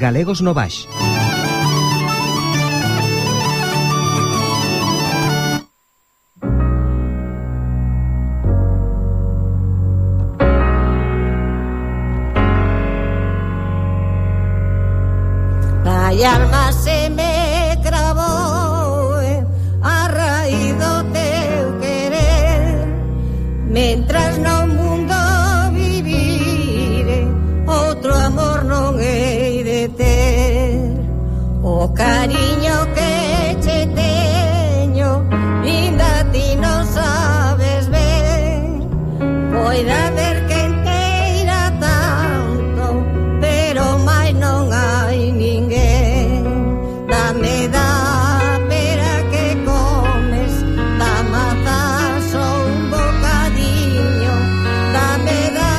Galegos no Baix. Ai alma se me cravou a raíz do teu querer, mentras no mundo vivire outro amor non hei de ter. O cariño que che teño ainda ti non sabes ben, poida ver que inteira tanto, pero máis non hai ninguén. Dame da pera que comes, da mazazo un bocadiño, dame da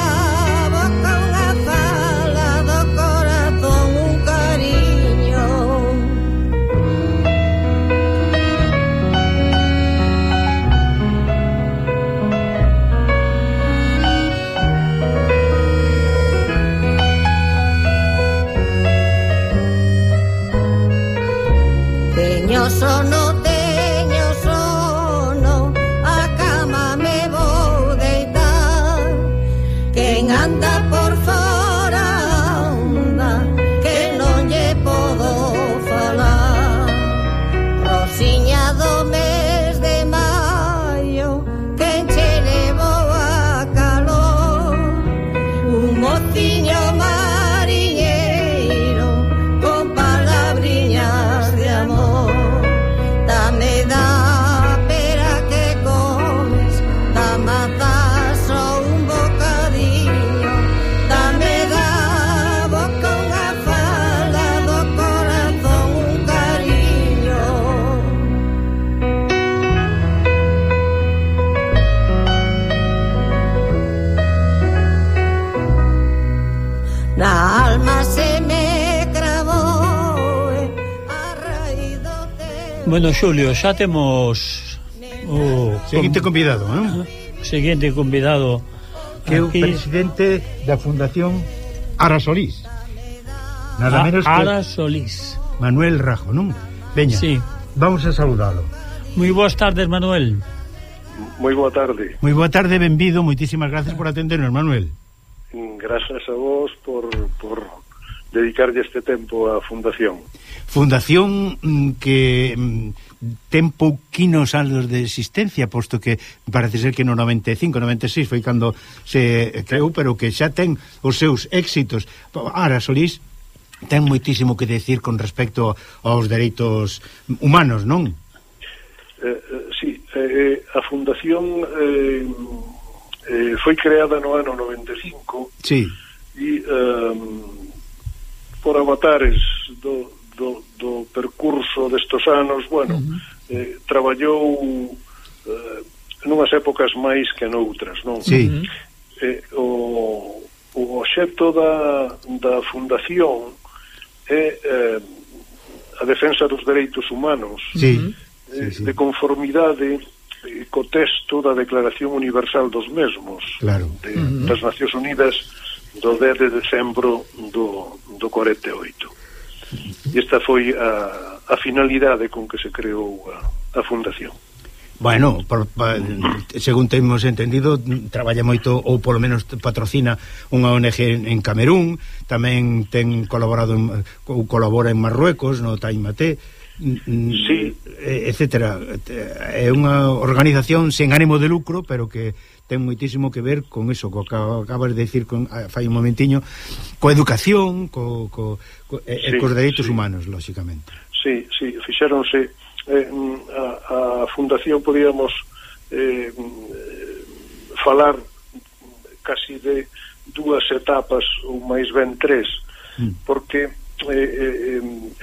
boca unha fala, do corazón un cariño. Teño sono, a cama me vou deitar. Quen anda por fora anda, que non lle podo falar. Rosiña do mes de maio, quen che levou a calor. Un mociño mariñeiro con palabriñas de amor. Dame da pera que comes, da mazazo un bocadiño, dame da boca unha fala, do corazón un cariño. Na alma se me cravou a raíz do teu. Bueno, Xulio, xa temos o Seguinte convidado, non? seguinte convidado Que é o aquí, presidente da Fundación Ara Solís. Nada menos que Ara Solís. Manuel Rajo, non? Veña, Sí. vamos a saudalo. Moi boas tardes, Manuel. Moi boa tarde. Moi boa tarde, benvido, moitísimas gracias por atendernos, Manuel. Grazas a vos por dedicarlle este tempo á Fundación. Fundación que ten pouquinos anos de existencia, posto que parece ser que no 95, 96 foi cando se creou, pero que xa ten os seus éxitos. Ara Solís ten moitísimo que decir con respecto aos dereitos humanos, non? Sí, a Fundación foi creada no ano 95. Sí. E por avatares do percurso destos anos, bueno, traballou nunhas épocas máis que noutras, non? Sí. O obxecto da Fundación é a defensa dos dereitos humanos, Sí. de conformidade co texto da Declaración Universal dos mesmos, Claro. das Nacións Unidas do 10 de decembro do 48. E esta foi a finalidade con que se creou a Fundación. Bueno, según temos entendido, traballa moito, ou polo menos patrocina unha ONG en Camerún, tamén ten colaborado ou colabora en Marruecos, no Taimate, Sí. etcétera. É unha organización sen ánimo de lucro, pero que ten moitísimo que ver con eso, co que acabas de decir fai un momentiño, coa educación, cos dereitos humanos, lóxicamente. Sí, fixéronse a Fundación, podíamos falar casi de dúas etapas ou máis ben tres, porque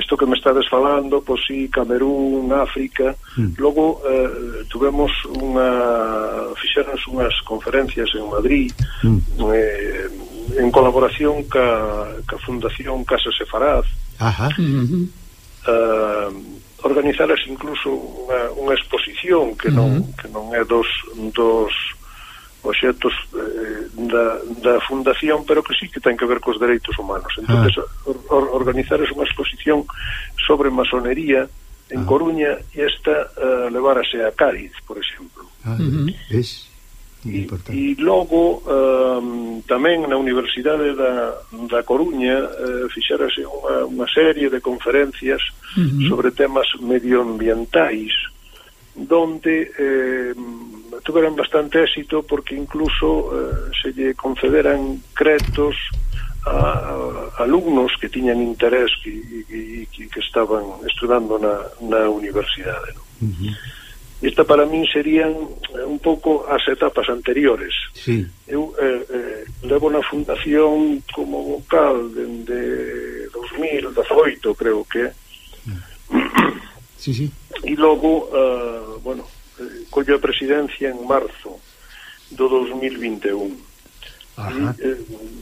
isto que me estades falando, pois sí, Camerún, África, logo fixéronse unhas conferencias en Madrid, en colaboración ca Fundación Casa Sefarad. Ajá. Organizaras incluso unha exposición que non é dos obxectos da fundación, pero que sí que ten que ver cos dereitos humanos. Entonces, organizar unha exposición sobre masonería en Coruña e esta levárase a Cádiz, por exemplo. Es importante. E logo tamén na Universidade da Coruña fixérase unha serie de conferencias sobre temas medioambientais, donde tuveran bastante éxito porque incluso se lle concederan créditos a alumnos que tiñan interés que estaban estudando na universidade, ¿no? Esta para min serían un pouco as etapas anteriores. Sí. Eu levo na fundación como vocal dende 2018, creo que. Sí. E logo, collo a presidencia en marzo do 2021.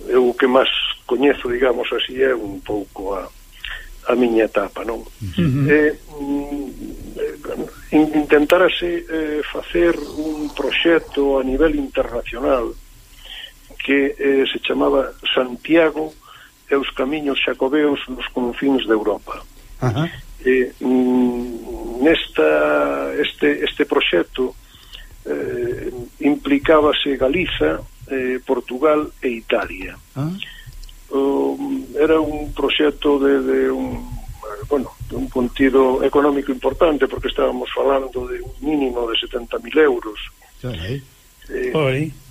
E o que máis coñezo, digamos así, é un pouco a miña etapa, non? Intentarase facer un proxecto a nivel internacional que se chamaba Santiago e os camiños xacobeos nos confins de Europa. Este proxecto implicábase Galiza, Portugal e Italia. Era un proxecto de un contido económico importante, porque estábamos falando de un mínimo de 70.000 euros,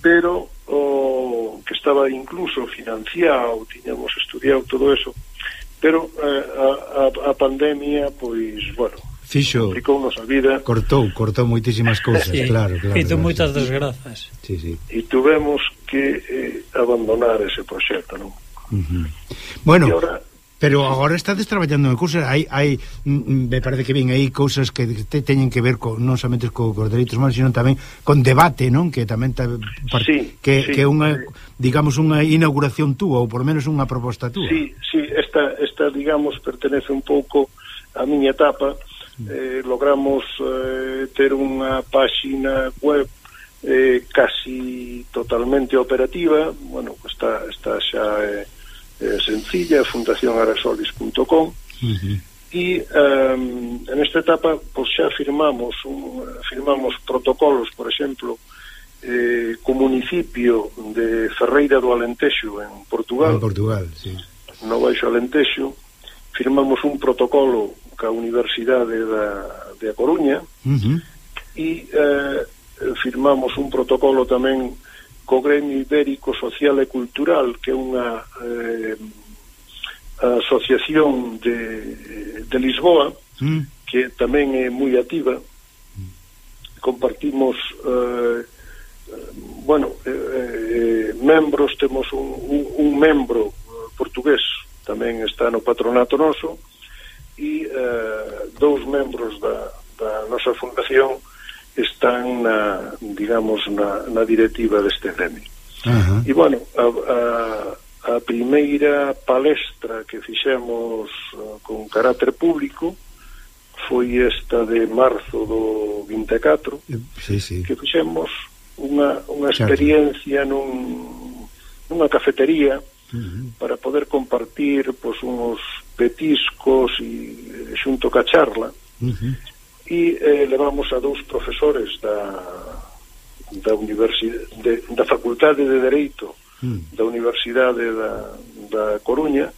pero que estaba incluso financiado, tiñamos estudiado todo eso, pero a pandemia, pois, complicounos a vida, cortou moitísimas cousas, claro. Fito moitas desgrazas. Sí. E tuvemos que abandonar ese proxecto, non? Bueno, ahora, pero agora estades traballando en cousas, hai me parece que ven aí cousas que teñen que ver non somente cos dereitos humanos, sino tamén con debate, non? Que tamén que unha, digamos, unha inauguración túa, ou por menos unha proposta túa. Sí, esta digamos, pertenece un pouco a miña etapa. Logramos ter unha páxina web casi totalmente operativa. Está xa sencilla, fundacionarasolis.com, e en esta etapa xa firmamos protocolos, por exemplo, co municipio de Ferreira do Alentexo en Portugal, sí. No Baixo Alentexo. Firmamos un protocolo ca Universidade de A Coruña, e firmamos un protocolo tamén co Gremio Ibérico Social e Cultural, que é unha asociación de Lisboa, que tamén é moi activa. Compartimos membros, temos un membro portugués, tamén está no patronato noso, e dous membros da nosa fundación están na directiva deste gremio. E a primeira palestra que fixemos con carácter público foi esta de marzo do 24, que fixemos unha experiencia nunha cafetería para poder compartir unos petiscos e xunto ca charla, e levamos a dous profesores da Facultade de Dereito da Universidade da Coruña,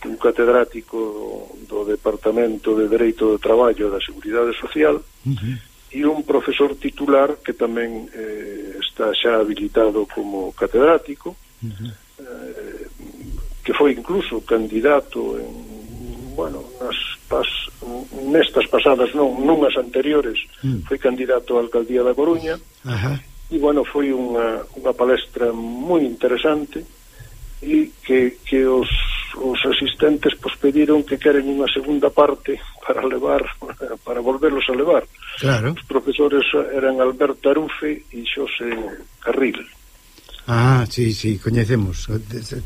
un catedrático do Departamento de Dereito do Traballo e da Seguridade Social, e un profesor titular que tamén está xa habilitado como catedrático, que foi incluso candidato nestas pasadas, nunhas anteriores, foi candidato á alcaldía da Coruña. E foi unha palestra moi interesante, e que os asistentes pediron que queren unha segunda parte para volverlos a levar. Claro. Os profesores eran Alberto Arufe e Xosé Carril. Sí, coñecemos.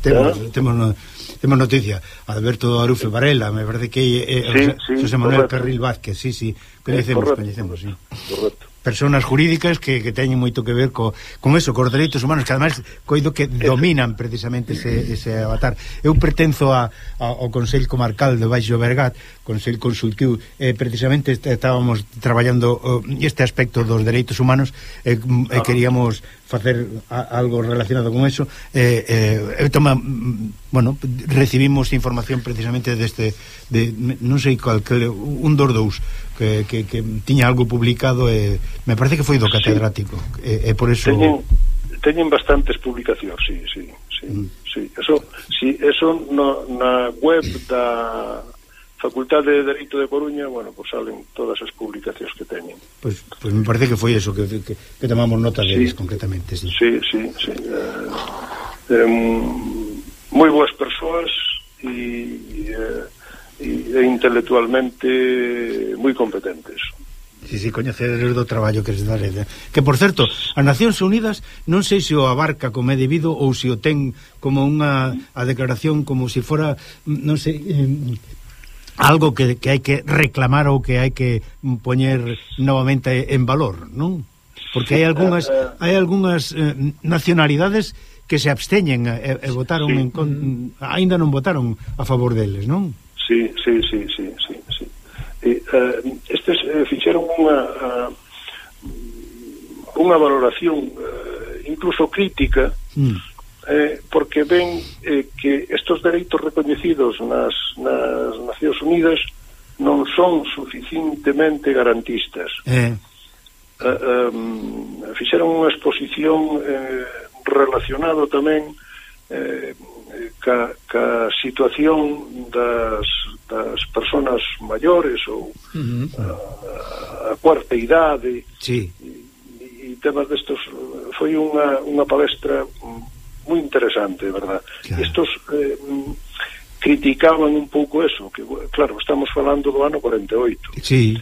Temos noticia. Alberto Arufe Varela, me parece que é Xosé Manuel Carril Vázquez, sí, Coñecemos, sí. Correcto. Personas jurídicas que teñen moito que ver con eso, cos dereitos humanos, que ademais coido que dominan precisamente ese avatar. Eu pertenzo ao Consello Comarcal de Baixo Bergat, Consello Consultivo, precisamente estábamos traballando este aspecto dos dereitos humanos, queríamos facer algo relacionado con eso. Recibimos información precisamente non sei cal, un dos dous que tiña algo publicado, me parece que foi do catedrático, por eso teñen bastantes publicacións, sí. Eso na web da Facultade de Dereito de Coruña, pues salen todas as publicacións que teñen. Pues me parece que foi eso que tomamos nota deles concretamente, sí. Sí. Moi boas persoas e intelectualmente moi competentes. Sí, coñeceres do traballo que se dá. Que, por certo, as Nacións Unidas non sei se o abarca como é debido ou se o ten como a declaración como se fora, non sei, algo que hai que reclamar ou que hai que poñer novamente en valor, non? Porque hai algunhas nacionalidades que se absteñen e votaron aínda non votaron a favor deles, non? Sí. Estes fixeron unha valoración incluso crítica, porque ven que estos dereitos recoñecidos nas Nacións Unidas non son suficientemente garantistas. Fixeron unha exposición relacionado tamén ca situación das persoas maiores ou a cuarta idade, sí. E temas destos. Foi unha palestra moi interesante, verdad? Claro. Estos criticaban un pouco eso, que claro, estamos falando do ano 48. Sí.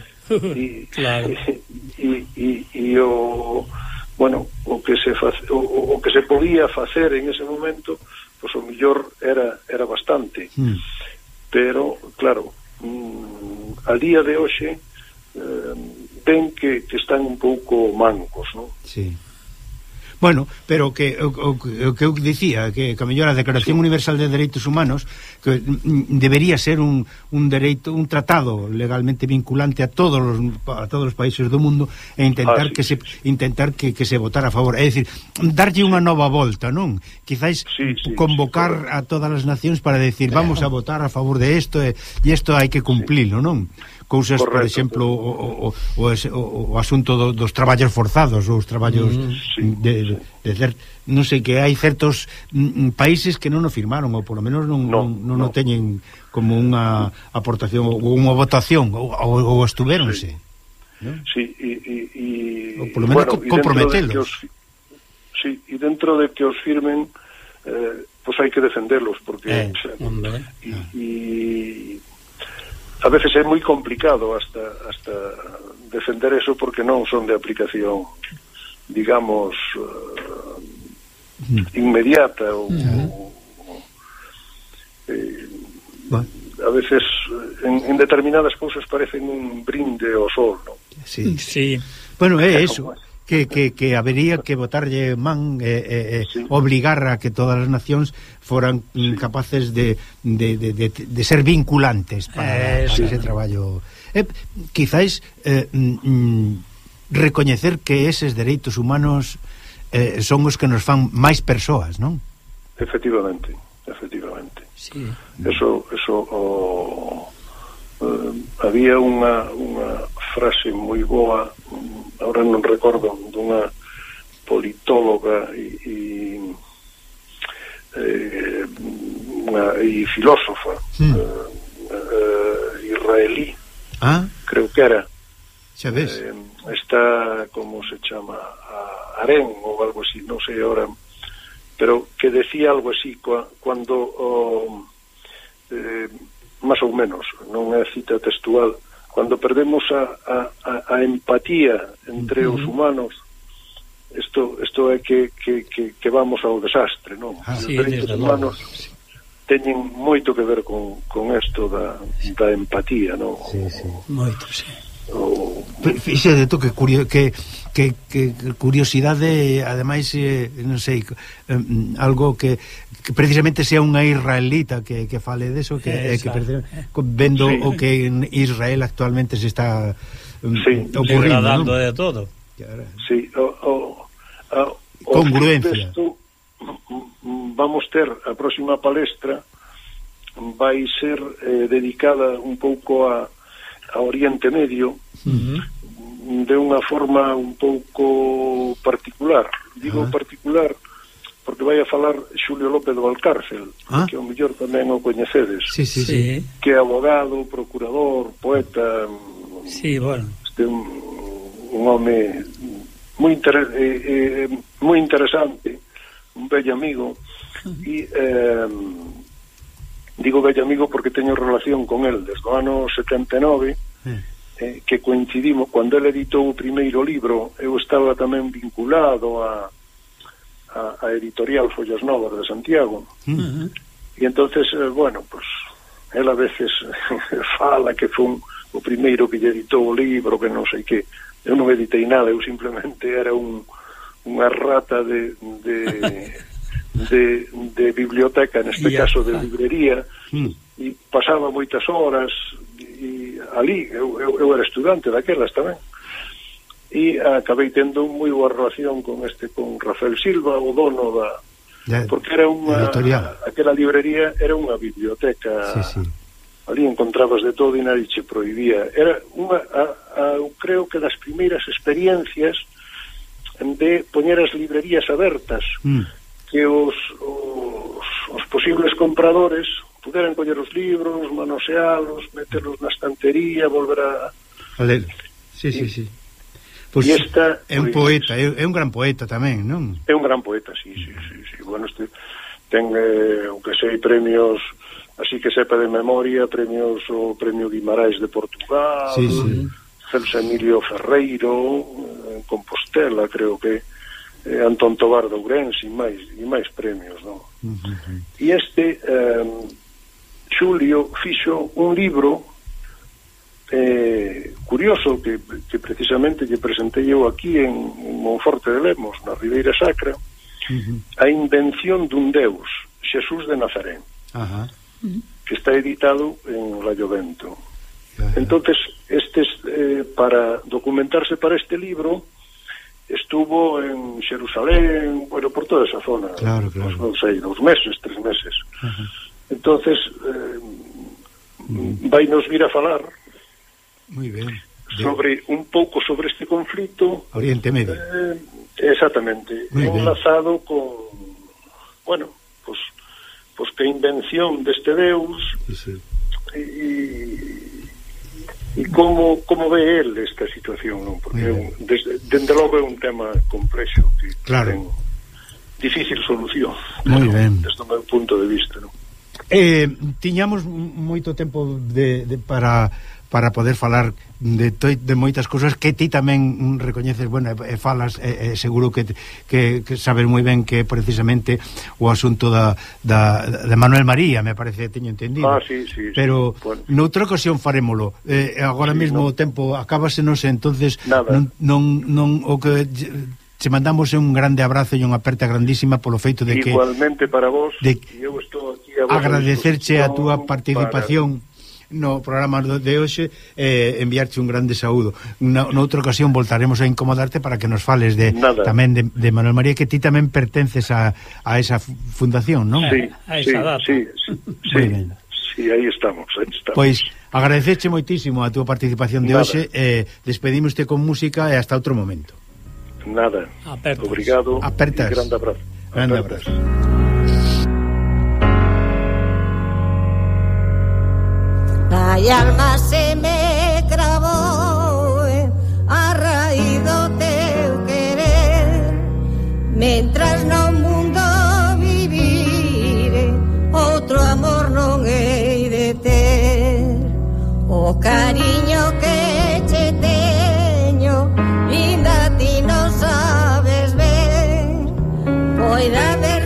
Claro. E o que se podía facer en ese momento, pois o mellor era bastante. Pero claro, al día de hoxe ven que están un pouco mancos, non? Sí. Bueno, pero o que eu dicía, que a mellor a Declaración Universal de Dereitos Humanos que debería ser un dereito, un tratado legalmente vinculante a todos os países do mundo, e intentar que se votara a favor, é dicir, darlle unha nova volta, non? Quizás convocar a todas as nacións para decir, vamos a votar a favor de isto e isto hai que cumplilo, non? Cousas, por exemplo, o asunto dos traballos forzados, ou os traballos non sei, que hai certos países que non o firmaron, ou polo menos non o teñen como unha aportación ou unha votación, ou estuvéronse. Sí, ou polo menos comprometelos. Sí, e dentro de que os firmen, pois hai que defenderlos, porque a veces é moi complicado hasta defender eso, porque non son de aplicación, digamos, inmediata ou a veces en determinadas cousas parecen un brinde ao sol, non? Sí. Bueno, é eso, que habería que botarlle man, obligar a que todas as nacións foran capaces de ser vinculantes para ese traballo. Quizás recoñecer que eses dereitos humanos son os que nos fan máis persoas, non? Efectivamente. Sí. Eso había unha frase moi boa, ahora non recordo, dunha politóloga e filósofa israelí, creo que era, xa ves, está, como se chama, Aren ou algo así, non sei ahora, pero que decía algo así cando máis ou menos, non é cita textual, cando perdemos a empatía entre os humanos, isto é que vamos ao desastre, non? Os dereitos humanos teñen moito que ver con isto da empatía, non? Moito, sí. Fíxate tú que curiosidade, ademais, non sei, algo que precisamente sea unha israelita que fale deso, que vendo sí, o que en Israel actualmente se está ocurrindo, ¿no? De todo. Sí, congruencia. Vamos ter a próxima palestra vai ser dedicada un pouco a Oriente Medio, de unha forma un pouco particular. Digo particular porque vai a falar Xulio López do Valcárcel, que ao mellor tamén o coñecedes, sí. Que é abogado, procurador, poeta, sí, bueno, un home moi interesante, un bello amigo, e digo bello amigo porque teño relación con el desde o ano 79, que coincidimos cando ele editou o primeiro libro. Eu estaba tamén vinculado a editorial Follas Novas de Santiago, e entonces, bueno, pues él a veces fala que foi o primeiro que lle editou o libro, que non sei que. Eu non editei nada, eu simplemente era unha rata de biblioteca, neste caso de librería, e pasaba moitas horas e ali, eu era estudante daquelas tamén, e acabei tendo moi boa relación con Rafael Silva, o dono porque era aquela librería era unha biblioteca, ali encontrabas de todo e nadie che prohibía. Era eu creo que das primeiras experiencias de poñer as librerías abertas, que os posibles compradores puderan coller os libros, manosealos, meterlos na estantería, volver a ler. Sí. Pois é un poeta, é un gran poeta tamén, non? É un gran poeta, sí. Bueno, ten, o que sei, premios, así que sepa de memoria, premios, o Premio Guimarães de Portugal, Celso Emilio Ferreiro, en Compostela, creo que Antón Tobar de Ourense, e máis premios, non? E Xulio fixo un libro curioso que precisamente lle presentei eu aquí en Monforte de Lemos, na Ribeira Sacra, A invención dun Deus, Xesús de Nazaré, que está editado en Laiovento. Entonces, para documentarse para este libro, estuvo en Xerusalén, bueno, por toda esa zona, non sei, 2 meses, 3 meses. Entonces, vai nos vir a falar moi ben sobre un pouco sobre este conflito Oriente Medio, exactamente, enlazado con, bueno, pues que a invención deste Deus e como ve el esta situación, non? Porque dende logo é un tema complexo que ten difícil solución, desde o meu punto de vista, non? Tiñamos moito tempo para poder falar de moitas cousas que ti tamén recoñeces, bueno, falas, seguro que sabes moi ben que precisamente o asunto de Manuel María, me parece, teño entendido. Sí. Pero noutra ocasión farémolo. Agora mesmo o tempo acábasenos, entonces non o que te mandamos un grande abrazo e unha aperta grandísima polo feito de que igualmente para vos, eu estou aquí a agradecerche a túa participación no programa de hoxe, enviarche un grande saúdo. Noutra ocasión voltaremos a incomodarte para que nos fales tamén de Manuel María, que ti tamén pertences a esa fundación, non? Sí, aí estamos. Pois agradecerche moitísimo a túa participación de hoxe, despedímoste con música e hasta outro momento. Nada, obrigado. Apertas. Grande abrazo. Grande abrazo. Ai alma se me cravou a raíz do teu querer, mentras no mundo vivire outro amor non hei de ter. O cariño que che teño inda ti non sabes ver, pois